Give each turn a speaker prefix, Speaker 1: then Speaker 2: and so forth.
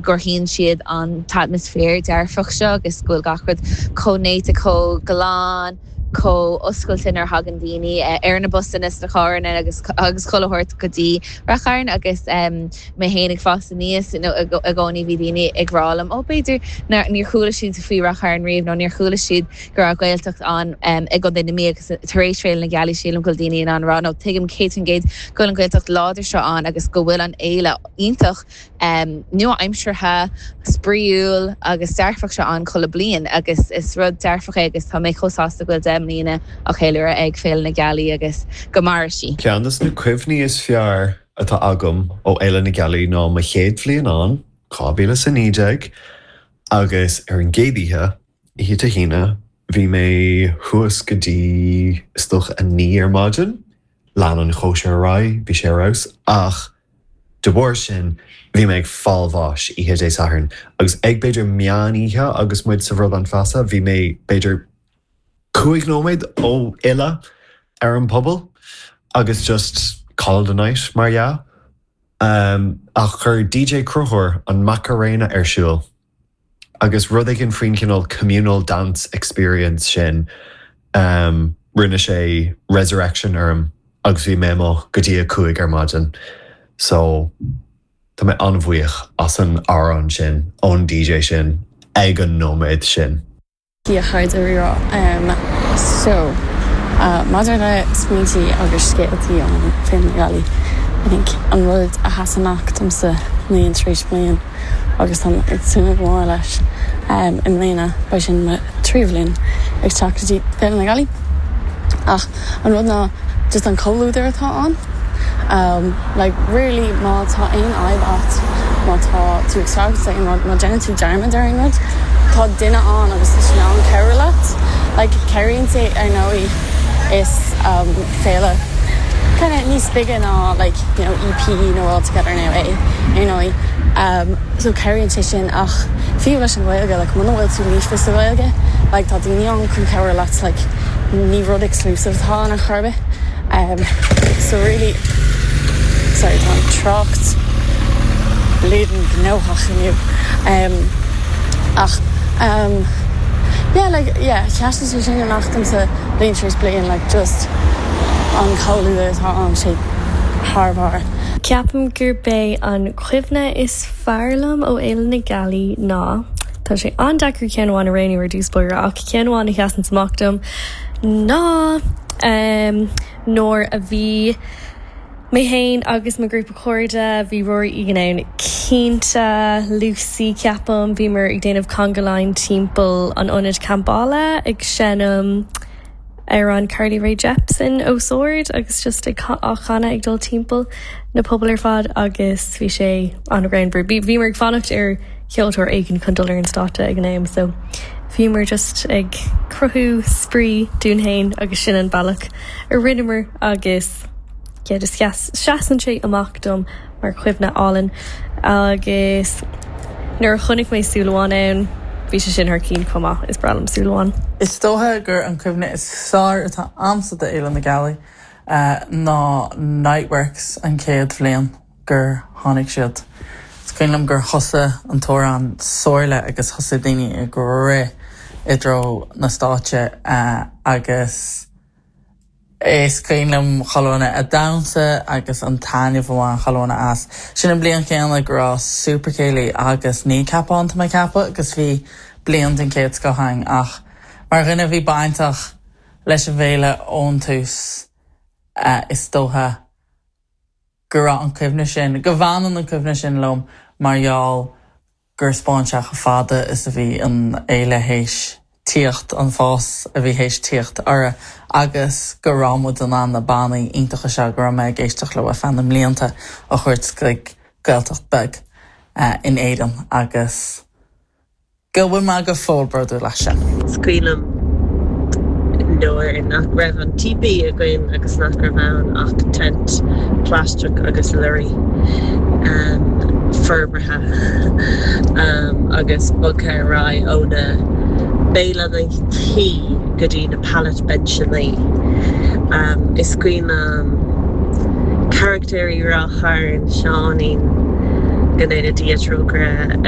Speaker 1: Cruthaíonn siad an t-atmaisféar dearfach seo agus go bhfuil gach rud chomh néata, chomh glan, chomh oscailte nuair a thagann daoine ar na busanna sna carranna agus agus chuile shórt go dtí Ráth Chairn agus mé féin ag fás aníos i gcónaí bhí daoine ag rá liom ó b'fhéidir níor chuala siad faoi Ráth Chairn riamh nó níor chuala siad go raibh Gaeltacht ann i gContae na Mí agus tar éis Féile na Gealaí sílim go bhfuil daoine in ann rá nó tuigim 100% go bhfuil an Ghaeltacht láidir seo ann agus go bhfuil an fhéile iontach nua-aimseartha, spraíúil agus dearfach seo ann chuile bliain agus is rud dearfach é agus tá mé chomh sásta go bhfuil 10 mbliana á cheiliúradh ag Féile na Gealaí agus go maire sí.
Speaker 2: Ceann de na cuimhní is fearr atá agam ó Fhéile na Gealaí ná mo chéad bhliain ann, 2019, agus ar an gcéad oíche, oíche Dé hAoine, bhí mé thuas go dtí is dócha 9 ar maidin, lean an chóisir ar aghaidh, bhí sé ar fheabhas, ach De bharr sin, bhí mé ag fáil bháis oíche Dé Sathairn, agus ag b'fhéidir meán oíche agus muid sa Bhradán Feasa, bhí mé b'fhéidir 5 nóiméad ó fhilleadh ar an phuball agus just call it a night mar dhea. Ach chuir DJ Cruthúr an Macarena ar siúl. Agus rud éigin faoin chineál communal dance experience sin, rinne sé resurrection orm agus bhí mé amuigh go dtí a 5 ar maidin. So, tá mé an-bhuíoch as an amhrán sin ón DJ sin ag an nóiméad sin.
Speaker 3: A chairde Rí-Rá. So, maidir le smaointí agus scéaltaí ó Féile na Gealaí, I think an rud a sheasann amach domsa bliain tar éis bliain agus táim ag tnúth go mór leis i mbliana, beidh sin mo tríú bhliain ag teacht go dtí Féile na Gealaí. Ach an rud ná just an comhluadar atá ann. Like really má tá aon fhadhb a't, má tá tú ag streachailt le aon rud, má déanann tú dearmad ar aon rud, tá duine ann agus tá sé in ann cabhrú leat. Like cabhraíonn sé ar ndóigh is féile kind of níos bige ná like you know EP nó All Together Now é ar ndóigh. So cabhraíonn sé sin ach fiú leis an Ghaeilge like muna bhfuil tú líofa sa Ghaeilge like tá daoine ann chun cabhrú leat like ní rud exclusive atá ann ar chor ar bith. So really, sorry tá an trácht bleeding gnóthach inniu. Ach yeah like yeah sheasann sé sin amach domsa bliain tar éis bliain like just an comhluadar atá ann sé thar barr.
Speaker 4: Ceapaim gurb é an cuimhne is fearr liom ó Fhéile na Gealaí ná, tá sé an-deacair ceann amháin a roghnú ar dtús báire ach ceann amháin a sheasann amach dom ná nuair a bhí mé féin agus mo ghrúpa cairde, bhí Rory Egan ann cinnte, Lucy ceapaim, bhíomar ag déanamh conga line timpeall an ionaid campála ag seinm amhrán Carly Rae Jepsen os ard agus just ag á chanadh ag dul timpeall na pubaill ar fad agus bhí sé an-ghreannmhar. Bhíomar ag fanacht ar cheoltóir éigin chun dul ar an stáitse ag an am so bhíomar just ag cruthú spraoi dúinn féin agus sin an bealach a rinneamar agus yeah just seasann sé amach dom mar chuimhne álainn agus nuair a chonaic mé Súil Amháin ann bhí sé sin thar cinn chomh maith, is breá liom Súil Amháin.
Speaker 5: Is dócha gur an cuimhne is fearr atá a'msa d'Fhéile na Gealaí ná Niteworks an chéad bhliain. gur tháinig siad. Is cuimhin liom gur thosaigh an t-amhrán Somhairle agus thosaigh daoine ag rith i dtreo na stáitse agus is cuimhin liom chuile dhuine ag damhsa agus an taitneamh a bhain chuile dhuine as. Sin an bliain chéanna go raibh Super Céilí agus Kneecap ann tá mé ag ceapadh agus bhí bliain den chéad scoth againn ach mar dhuine a bhí bainteach leis an bhféile ón tús is dócha go raibh an cuimhne sin, go bhfanann an cuimhne sin liom mar gheall gur 'spáin sé chomh fada is a bhí an fhéile théis tíocht, an fás a bhí théis tíocht uirthi agus go raibh muid in ann na bannaí iontacha seo go raibh mé ag éisteacht leo ar feadh na mblianta a thabhairt chuig Gaeltacht beag in Éirinn agus. Go bhfuil mé go fóill bródúil as sin.
Speaker 6: Is cuimhin liom nuair nach raibh an típí againn agus nach raibh ann ach tent plaisteach agus lorry forbartha agus bogtha ar aghaidh ó na béileanna tí go dtí na pallet benseannaí. Is cuimhin liom carachtéirí Ráth Chairn, Seáinín, go ndéana Dia trócaire air.